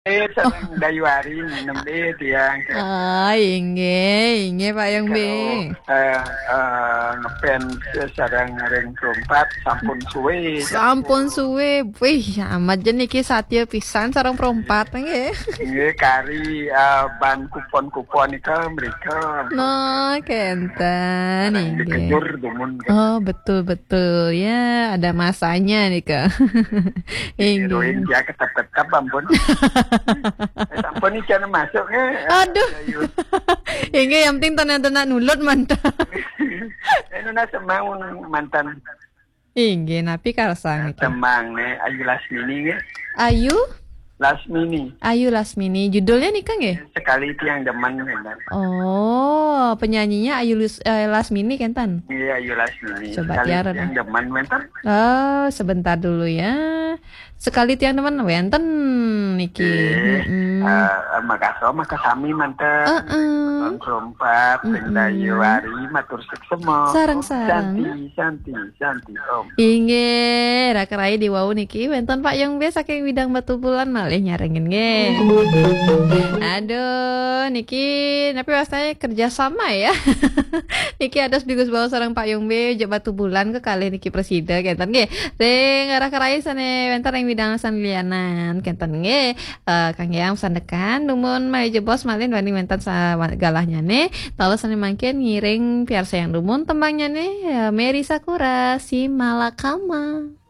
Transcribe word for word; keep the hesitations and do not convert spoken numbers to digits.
Eh, sareng Dayu Ari nginem deh tiang. Ah, inggih, inggih Pak Yong B. Eh, eh, ngefans sareng ring Perempat sampun suwe. Sampun suwe. Wih, amat je niki satia pisan sareng Perempat nggih. Nggih, kari eh, ban kupon-kupon nika mrika. Nah, kenten inggih. Dikejur dumun. Oh, betul betul. Ya, ada masanya nika. Inggih. Heroin dia ketep-ketep ampun. Eh, sampun iki ana masuk nggih. Aduh. Ayu. Inggih, yang penting tenan-tenan nulut mantan. Eh, nuna semang mantan Inggih, napi karsang niki? Semang nih, Ayu Lasmini nggih. Ayu, Lasmini. Ayu Lasmini. Judulnya nika nggih? Sekali tiang demen nggih. Oh, penyanyinya Ayu Lus- eh, Lasmini kenten. Iya, Ayu Lasmini. Coba Sekali tiara tiang demen wenten. Oh, sebentar dulu ya. Sekali tiang demen wenten niki. Nggih. Mm-mm. Eh, makasih, makasih sami manten. Heeh. Tahun Perempat, Mm-mm. Dayu Ari, matur suksema. Sareng, Om sareng. Santi, Santi, Santi, Om. Inggih, raka rai di wau niki wenten Pak Yong B saking Widang Batubulan malih nyarengin nggih. Aduh, niki napi wastane kerjasama ya. Niki ados bigus bau sareng Pak Yong B jek Batubulan kekalih niki presida kenten nggih. Ring raka rai sane wenten ring Widang sane lianan kenten nggih. Eh, kangge yang sandekan dumun malih jebos malih wani wenten sa- galahnyane. Taler sane mangkin ngiring piarsayang dumun tembangnyane, eh, Mary Sakura, Si Malakama.